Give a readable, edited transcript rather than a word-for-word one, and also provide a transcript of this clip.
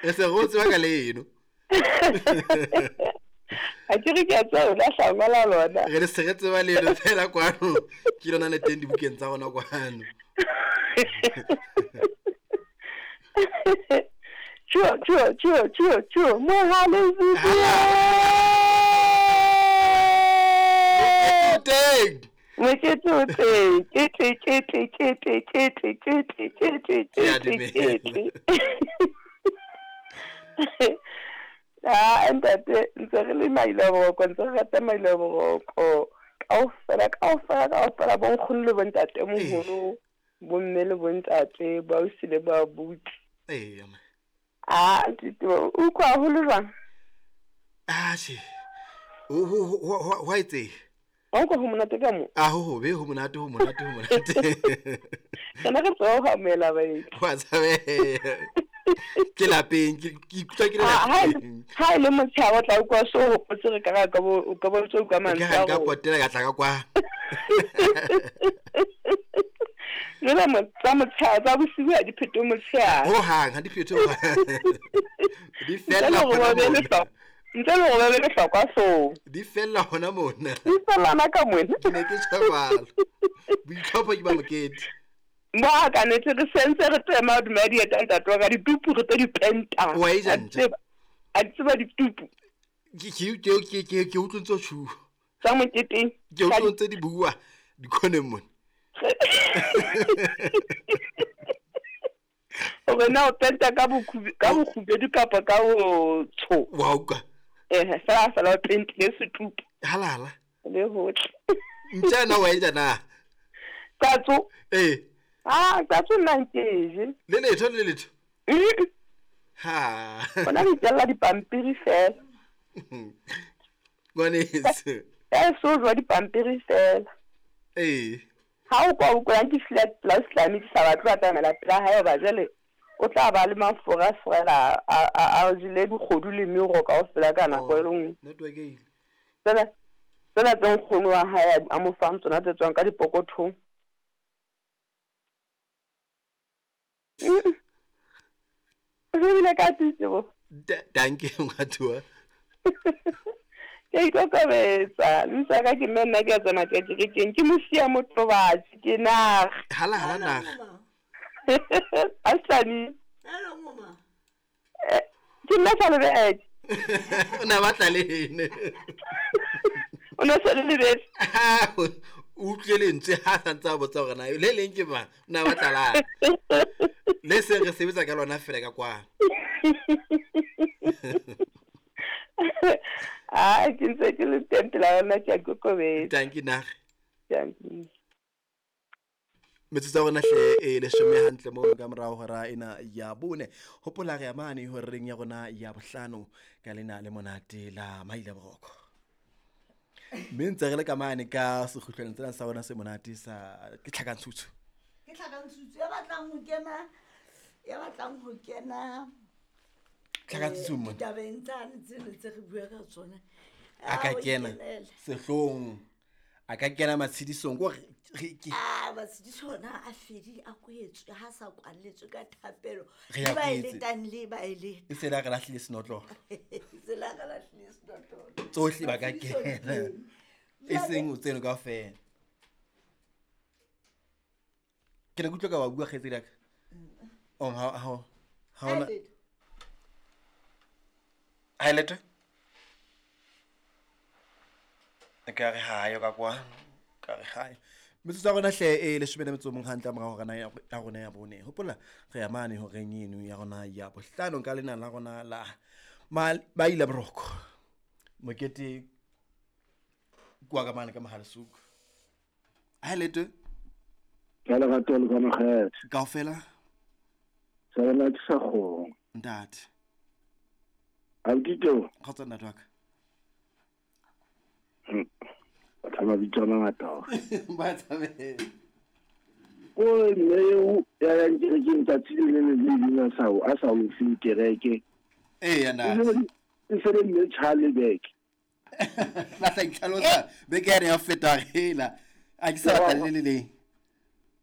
E se go tseba ka leno. A ke re ke a tseba o lahla ngola lona. Re le se re tseba leno fela kwano. Ke lona le teng dibukeng tsa rona kwano. Tjho tjho tjho tjho tjho mohale Teng. Mokete o teng. Kete kete kete kete kete kete Ke a kete dumela. kete. Ah, ntate, ntse re le maile boroko, ntse re rata maile boroko. Kaofela, kaofela, kaofela, bo nkgono le bontate moholo, bomme le bontate, boausi le boabuti. Eya ma. Ah, Tito, o utlwa haholo jwang? Ah, tjhe. Ho ho ho ho ho etseha. Wa utlwa ho monate ka mo? A ho hobe ho monate ho monate ho monate. Rena re tswa ho amohela baeti. Wa tshabeha. Ke lapeng ke ke ikutlwa ke le Ha ha e lapeng. ha e le motshehare o tla utlwa so hopotse re ka ra ka bo o ka bo ntso utlwa Ke mantswe ha a nka rona. potela ka tla ka kwa. Jwale mo tsa motshehare tsa bosiu ha di phete motshehare. Ho hang ha di phethe ho hang. Di Ntle fella le hore hona ba be mona. lehlokwa, ntle le hore ba be lehlokwa hloohong. Di fella hona mona. Di fellana ka mona. Ke ne ke tjho jwalo. Boitlhopho ke ba mokete. Mo a ka nete re sentse re tema hodima dieta ntate wa ka ditupu re tlo di penta. Wa e ja A ntja? tseba, a tseba ditupu Ke ke ke ke ke ke utlwe ntse o tjhuwa. tsa moketeng. Ke utlwe ntse di bua dikhoneng mona. Hore na o penta ka ka bokgubedu kapa ka botsho. Wa utlwa. Eh, fela fela o pentile setupu Halala. le hohle. Ntja na wa e ja na? Qatso. Eh, Ah, qatso nna nke e je. le letho le letho. Mm. Ha. Ona re itjella dipampiri fela. Ngwaneso. Ya so jwa dipampiri fela. Eh. Ha o kwa utlwang ke flat plus tlame ke sa batle ho atamela pela hae hoba jwale o tla ba le mafura fela a a a jele dikgodu le mero kaofela ka nako e le nngwe. Network e ile. Tsena tsena tse nkgono wa hae a mo fang tsona tse tswang ka dipokothong. Mm. O shebile ka titebo. Danke ngwatuwa. Ke a ikokobetsa. Lebitso la ka ke mme nna ke a tsamaya ke ya kerekeng. Ke mosiya motobatsi ke naga. Hala hala naga. Aslani. Hello mama. Ke nna sa lebetse. O na batla lene. O ne sa le lebetse. O utlwe lentswe ha sa ntse a botsa hore na le leng ke mang. O na batla la. Le seng re sebetsa ka lona fela ka kwano. Ah, ke ntse ke le teng pela yona ke a ikokobetsa. Danke naga. Dankie. Metsotso ya rona hle e leshome hantle mono ka morao hora ena ya bone. Hopola re ya mane horeng ya rona ya bohlano ka lena le monate la Maila Boroko. Mme ntse re le ka mane ka sekgutlwaneng tsena sa rona se monate sa ke tlhakantshutsu. Ke tlhakantshutsu ya batlang ho kena ya batlang ho kena Tlhakantshutsu mona. ditabeng tsane tsene tse re bua ka tsona. A ka o kena ikenele. sehloohong. A ka kena matshedisong ko re ke Ah, matshediso ona a fedile a kwetswe ha sa kwalletswe ka thapelo. Re a Le ba kwetse. eletang le ba eleta. E se la re lahlile senotlolo. Se la re lahlile senotlolo. Tsohle ba ka Matshediso di kena. teng. E seng o tseno kaofela. Ke ne ke utlwa ka wa bua kgaitsedi ya ka. Oh, ha ha ha ona. Ha e letho. Ha e letho? Ka re ha yo ka kwa. Ka re ha. Metsotso ya rona hle e leshome le metso o mong hantle morao hora ya rona ya bone. Hopola re ya mane horeng eno ya rona ya bohlano ka lena la rona la Maila Boroko. Mokete kwa ka mane ka Mohalesuku. Ha e letho? Ka lerato le kamohelo. Kaofela? Sa lona ke sa kgong. Ntate. Abuti Kgotsa ntate wa ka. Batho ba mabitso a mangata ao. Ba tshabela. Ko mme eo ya yang kerekeng tsatsi le leng le le leng a sa o fe kereke. Eya, ntate. E se le mme Charlie Beck. La tla itlhalosa beke yane ya ho feta hela. A ke sa batla le le leng.